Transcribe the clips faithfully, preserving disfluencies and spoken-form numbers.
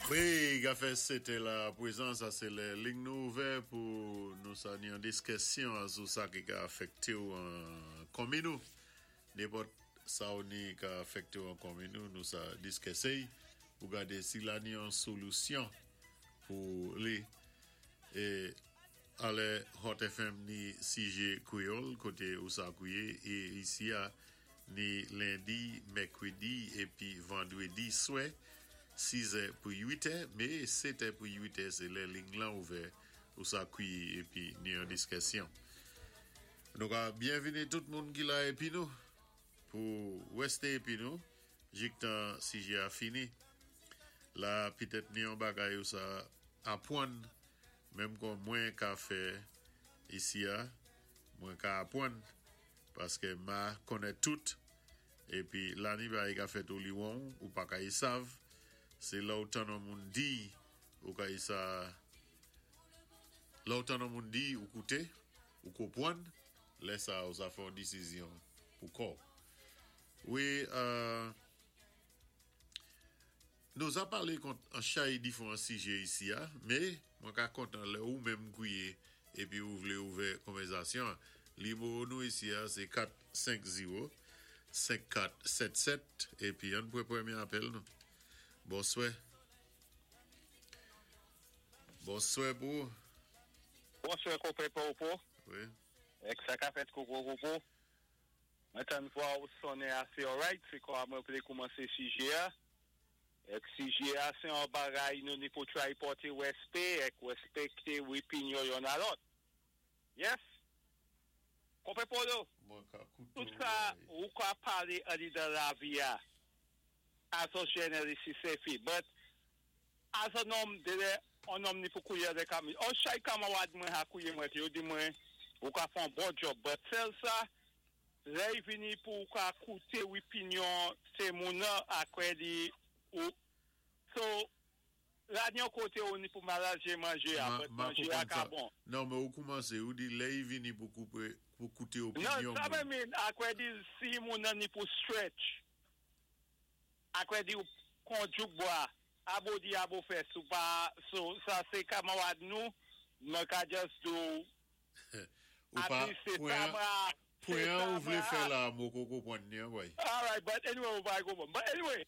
Wi, ka fè sétè la pwézan, sa sé lè liy nou ouvè pou nou sa ni an diskisyon sou sa ki ka afèkté ou an konmin nou. Nenpòt sa ou ni ka afèkté ou an konmin nou, nou sa diskisé pou gadé si la ni an solisyon pou li. É alè Hot F M ni C J Kwéyòl koté ou sa kouwé é isi a ni lendi, mèkwédi épi vandwédi swè sizè pou uitè, mé sétè pou uitè sé lè liy lan ouvè ou sa kouwé épi ni an diskisyon. Nou ka byenvini tout moun ki la épi nou pou wèsté épi nou jiktan C J a fini. La pitèt ni an bagay ou sa apwann menm kon mwen ka fè isi a, mwen ka apwann paské ma konnèt tout épi la ni bagay ka fèt ou li won ou pa ka y sav, sé lè ou tann an moun di ou ka y sa lè ou tann an moun di ou kouté ou konpwann, lè sa ou sa fè an disizyon pou kò. Wi, euh, nou a palé kont an chay difwan sijé isi a, mé mwen ka kontan lè ou menm kouwé épi ou vlé ouvè konvèzasyon. Nimewo nou isi a, sé kat senk zewo senk kat sèt sèt épi ann pwan pwémyé apèl nou. Bonswè. Bonswè pou. Bonswè konpè Popo. Wi. Èk sa ka fèt koko koko. Mwen tann vwa ou sonnen asé alright, sé kwa mwen vlé koumansé sijé a. Èk sijé a sé an bagay nou ni pou try pòté wèspè èk wèspèkté wipinyon youn a lòt. Yes? Konpè Polo, Mwen ka kouté tout sa ou ka palé andidan lavi a, as a journalist sé fi, but as a nonm de an nonm ni pou kouwé de kami. On chay kanmawad mwen ha kouwé mwen, yo di mwen, ou ka fè an bon job, but sèl sa, lè y vini pou ka kouté wipinyon sé moun nan akwè di ou so la ni yon koté ou ni pou malajé manjé a, Ma, but ma manjé a konpwann ka sa. bon. Non, mé ou koumansé, ou di lè y vini pou koupé, pou kouté Non, opinyon sa moun. mwen min, akwè di si moun nan ni pou stretch, akwè di ou konjouk bwa, abo di abo fè, sou pa, so, sa sé kanmawad nou, mwen ka just do, Ou pa, at least sé pwen, sa mwa, sé pwen sa ou vlé mwa- fè la, mwen ko konpwann ni an, boy. All right, but anyway, ou pa go bon. But anyway,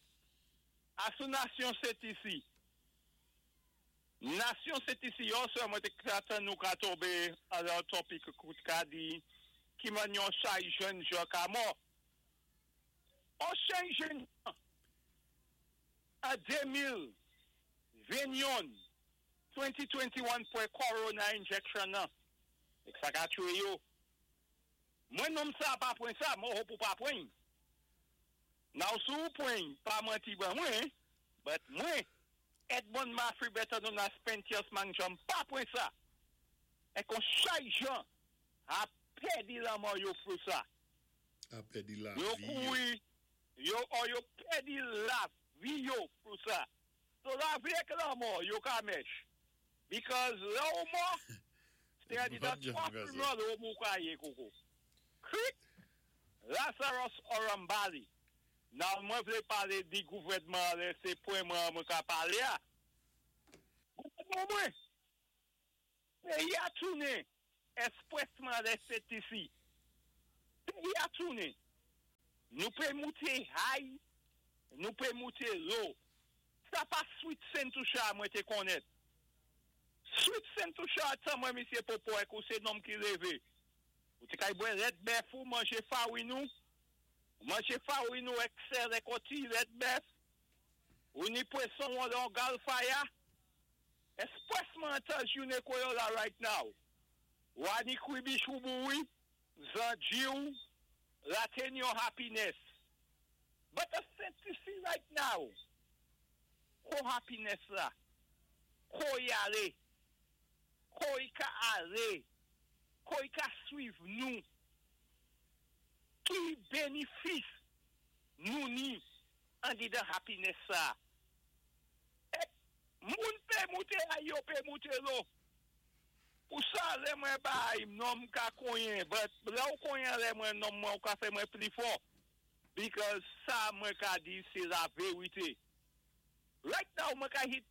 asou nasyon set isi. Nasyon set isi, yon sè mwen te kratan nou ka tobe alè topic kout ka di, ki man yon chay jèn jan ka mò. On chay jèn jan, a de mil venteyen, de mil venteyen pou corona injection nan. Ek sa ka tuwe yo. Mwen nonm sa pa pwen sa, mwen hope ou pa pwen. Now sou pwen, pa manti ban mwen, but mwen, Edmond Mafry better known as Pentious Mangjam, pa pwen sa. E kon chay jan, a pèdi lanmò yo pou sa. A pèdi la Yo vi. kouri, yo, or yo pèdi lavi yo pou sa. So lavi ek lanmò, yo ka mèch. Because lè ou mò, se a di da Mwen twa jam ka sa. funeral ou mou ka ye koko. Krik, Lazarus Orambali. Nan mwen vle pale di gouvèdman lè se pwen mwen mwen ka pale a. Gouvèdman mwen. Peyi a tounen. Espresman lè set isi. Peyi a tounen. Nou pe moute high, nou pe moute low. Sa pa Sweet Saint Toucha mwen te konet. Sweet Saint Toucha tan mwen misye Popo ek ou se nonm ki leve. Ou te kay bwè lèt bèf ou manje fawin ou. Manje fawin ou ek sèl ek oti lèt bèf. Ou ni pweson ou an gal faya. Espresman tan jounen koyo la right now. Wani kwibi chouboui, zanji ou, la ten yon happiness. But a Saint Lucie right now, ko happiness la, ko y ale, ko y ka ale, ko y ka suiv nou, ki benefis nou ni an di de happiness sa. E, moun pe moute a yo pe moute lo. Pou sa lè mwen bay, nonm ka konyen, but lè ou konyen lè mwen nonm mwen ou ka fè mwen pli fò. Because sa mwen ka di se la verite. Right now mwen ka hit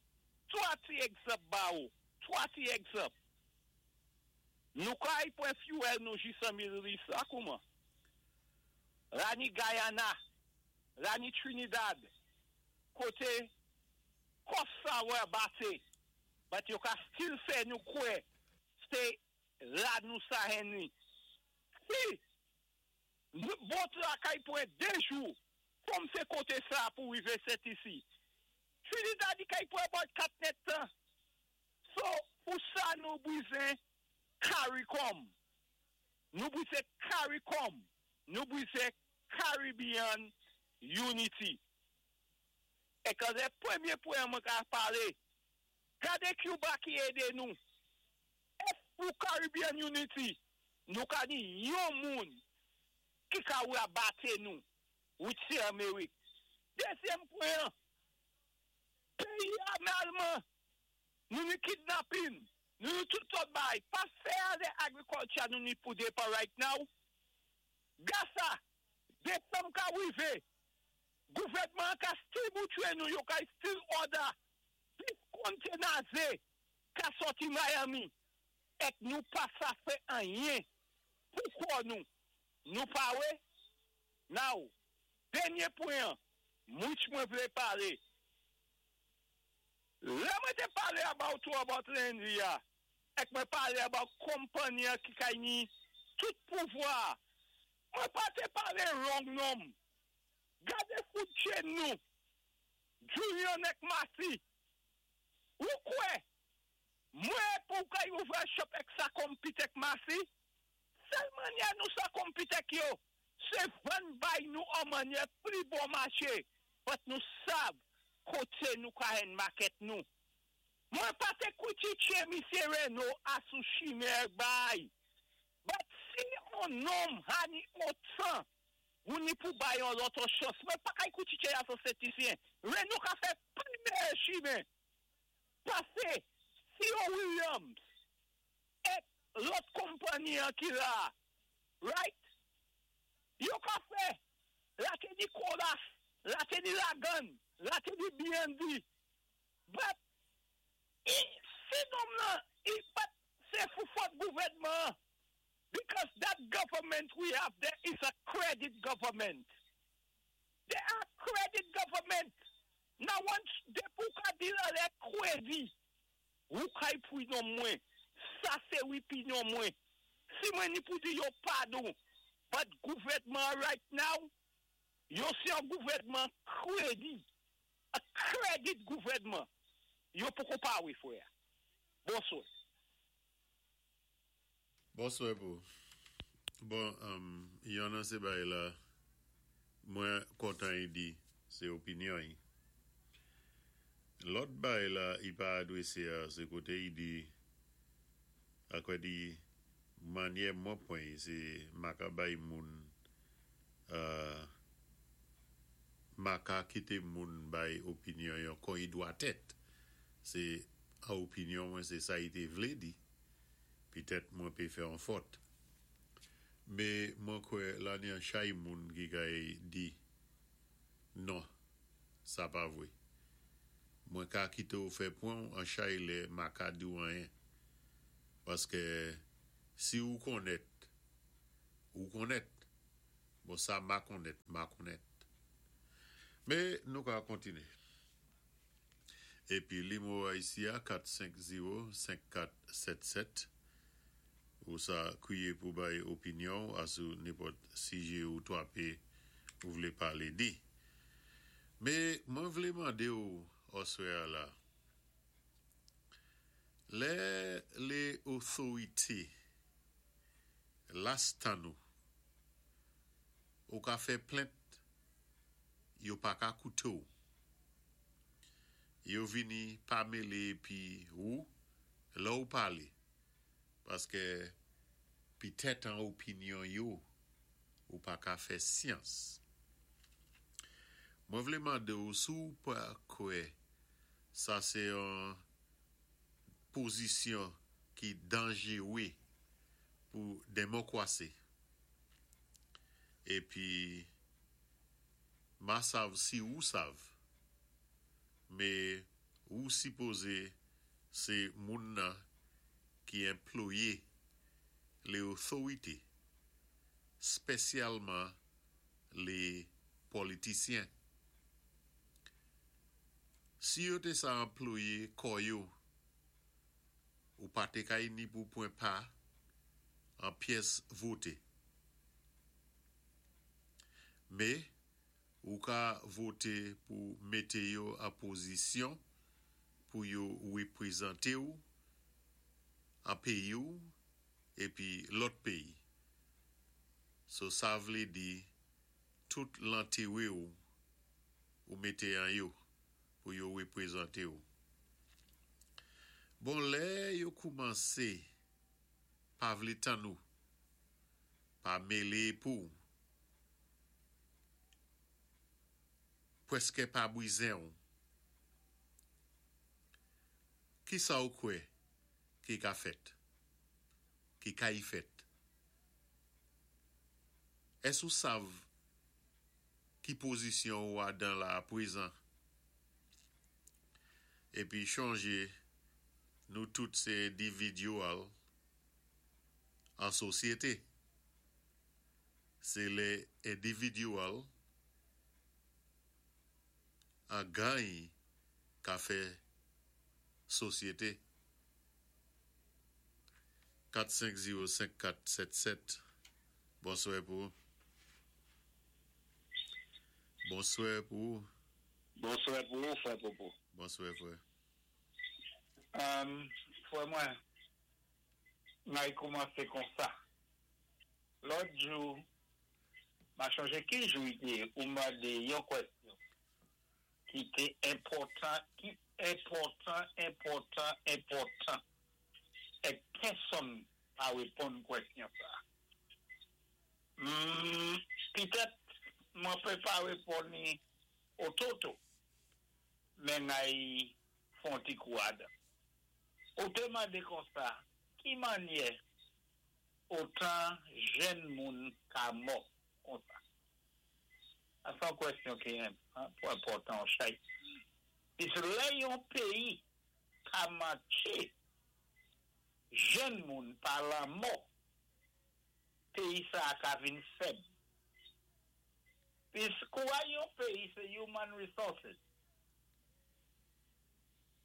Twa ti egzanp ba ou. Twa ti egzanp. Nou kay pwen fuel nou jis an Middle East la kouman? La ni Guyana, la ni Trinidad, koté cost sa wè bate, but yo ka still fè nou kwè, sé la nou sa henni. Si, boat la kay pwen dé jou, kòm sé koté sa pou rivé set isi. Trinidad di kay pwen about kat nèd tan. So, pou sa nou bizwen CARICOM. Nou bizwen CARICOM. Nou bizwen Caribbean Unity. É kan sé pwémyé pwen mwen ka palé, gadé Cuba ki édé nou. If pou Caribbean Unity, nou ka ni yon moun ki ka wè baté nou, which sé Amerik. Dézyèm pwen, péyi a malman, nou ni kidnapping, nou ni tout sòt bay, pa fè de agriculture nou ni pou dépa right now. Gasa, désanm ka wivé, gouvèdman ka still boutwé nou, yo ka still order, dis container zé, ka sòti Miami, èk nou pa sa fè anyen, poukwa nou? Nou pa wè? Now, dènyé pwen, mouch mwen vlé palé. Lè mwen té palé about ou about lendi ya, èk mwen palé about konpanyi ki kay ni tout pouvwa, mwen pa té palé wrong nonm. Gadé food chain nou, Julian èk Masi, ou kwè, mwen pou kay ouvè shop èk sa compete èk Masi, sèl mannyè nou sa compete èk yo, sé vann bay nou an mannyè pli bon maché, but nou sav koté nou ka hen market nou. Mwen pa té kwitiké misyé Renault asou chimè bay. But si on nonm hani otan, ou ni pou bay yon lòt chans, mwen pa kay kwitiké asou setisyen. Renault ka fè pli meyè chimè. Pasé, si yo Williams, èk lòt konpanyi an ki la, right? Yo ka fè, la té di Colas, la té di Lagan, la té di B and B. But, i, si nonm nan, i pat, sé fou fòt gouvèdman, because that government we have there is a credit government. They are credit government. Now once de pou ka di la lè kredi, ou kay pou yon mwen, sa sé opinyon mwen. Si mwen ni pou di yo padon, but gouvèdman right now, yo sé yon gouvèdman kredi. A credit gouvèdman. Yo poko pa wè fwè. Bonswè. Bonswè pou. Bon, um, yon nan sé bay la, mwen kontan yi di, sé opinyon yi. Lòt bay la, i pa adwésé a, sé koté yi di, akwe di, mannyè mwen pwen yi, sé maka bay moun, uh, maka kité moun bay opinyon yon kon yi dwa tèt. Sé a opinyon mwen, sé sa yi té vlé di. Pitèt mwen pé fè an fòt. Mé mwen kwè la ni an chay moun ki kay di, non, sa pa vwé. Mwen ka kité ou fè pwen an chay lè ma ka di ou anyen. Paské si ou konnèt, ou konnèt, bon sa ma konnèt, ma konnèt. Mé nou ka kontiné. Épi limo a isi a kat senk zewo senk kat sèt sèt. Ou sa kwiyé pou bay opinyon asou nenpòt sijé ou twapé ou vlé palé di. Mé mwen vlé mandé ou oswè a la. Lè lé otorité las tan nou ou ka fè plent yo pa ka kouté ou. Yo vini pa mélé pi ou lè ou palé. Paské pitèt an opinyon yo ou pa ka fè syans. Mwen vlé mandé ou sou pa kwè sa sé yon pozisyon ki danjéwé pou démokwasi. Épi ma sav si ou sav, mé ou Ou sipozé sé moun nan ki anplwayé lé otorité, spésyalman lé politisyen. Si yo té sa anplwayé kò yo, ou pa té kay ni pou pwan pa an pyès voté. Mé, ou ka voté pou mété yo an pozisyon pou yo wépwézanté ou an péyi ou épi lòt péyi. So sa vlé di tout lentéwé ou ou mété an yo pou yo wépwézanté ou. Bon, lè yo koumansé pa vlé tann ou, pa mélé pou, pwèské pa bwizen ou. Ki sa ou kwè ki ka fèt? Ki kay fèt? Ès ou sav ki pozisyon ou adan la pwézan? Épi chonjé nou tout sé endividyèl an sosyété. Sé lé endividyèl an gany ka fè sosyété. kat senk zewo senk kat sèt sèt. Bonswè pou ou. Bonswè pou ou. Bonswè pou ou, frè Popo. Bonswè, frè. Um, frè mwen, may koumansé kon sa. Lòt jou, ma chonjé ki jou i té, ou mandé yon kwèsyon ki té enpòtan, ki enpòtan, enpòtan, enpòtan. É pèsonn pa wéponn kwèsyon sa. Hmm, pitèt mwen pé pa wéponn ni ototo, men ay fon ti kou adan. Ou té mandé kon sa, ki mannyè otan jenn moun ka mò kon sa? Sa son kwèsyon ki enpòtan chay. Pis lè yon péyi ka manké jenn moun pa lanmò, péyi sa ka vin fèb. Pis kwa yon péyi sé human resources.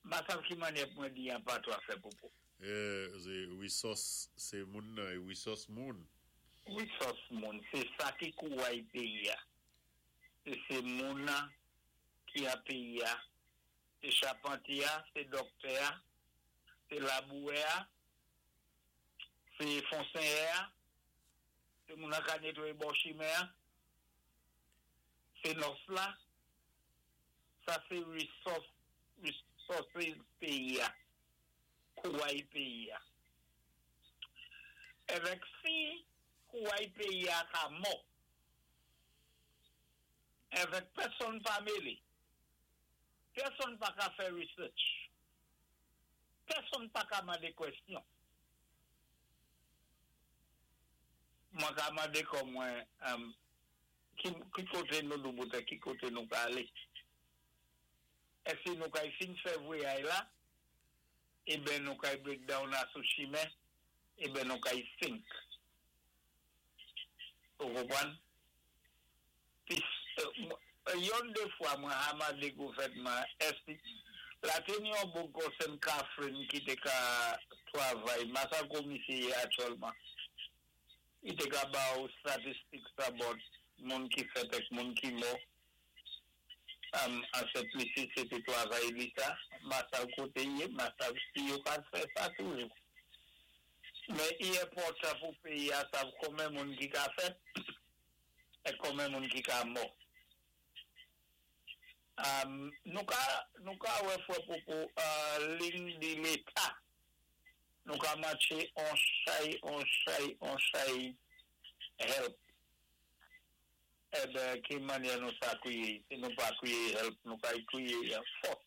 Ma sav ki mannyè pou mwen di an patwa, frè Popo. Euh, sé resource, sé moun nan, resource moun. Resource moun, sé sa ki kouway péyi a. Sé sé moun nan ki a péyi a. Sé chapantye a, sé doktè a, sé labouwè a, sé fonsenyè a, sé moun nan ka nétwayé bò chimen a, sé nòs la. Sa sé resource, resources péyi a, kouway péyi a. Évèk si kouway péyi a ka mò, évèk pèsonn pa mélé, pèsonn pa ka fè research, pèsonn pa ka mandé kwèsyon. Mwen ka mandé kò mwen, um, ki, ki koté nou douboutè, ki koté nou ka alé. Èsi nou kay fin fè vwayaj la, é ben nou kay break down a sou chimen, é ben nou kay sink. Ou konpwann? Pis, euh, yon dé fwa mwen ha mandé gouvèdman, èsi, la té ni yon bon kon Saint Catherine ki té ka twavay, ma sa komisyé aktyèlman. I té ka ba ou statistik sa bòt, moun ki fèt èk moun ki mò. Um, an Sent Lisi, sé té twavay li sa, ma sav koté yé, ma sav si yo ka fè sa toujou. Mé i enpòtan pou péyi a sav konmen moun ki ka fèt, é konmen moun ki ka mò. Um, nou ka, nou ka wè frè Popo, uh, ling di Léta, nou ka matché on chay, on chay, on chay help. É ben, ki mannyè nou sa kwiyé? Si nou pa kwiyé help, nou ka kwiyé fòs.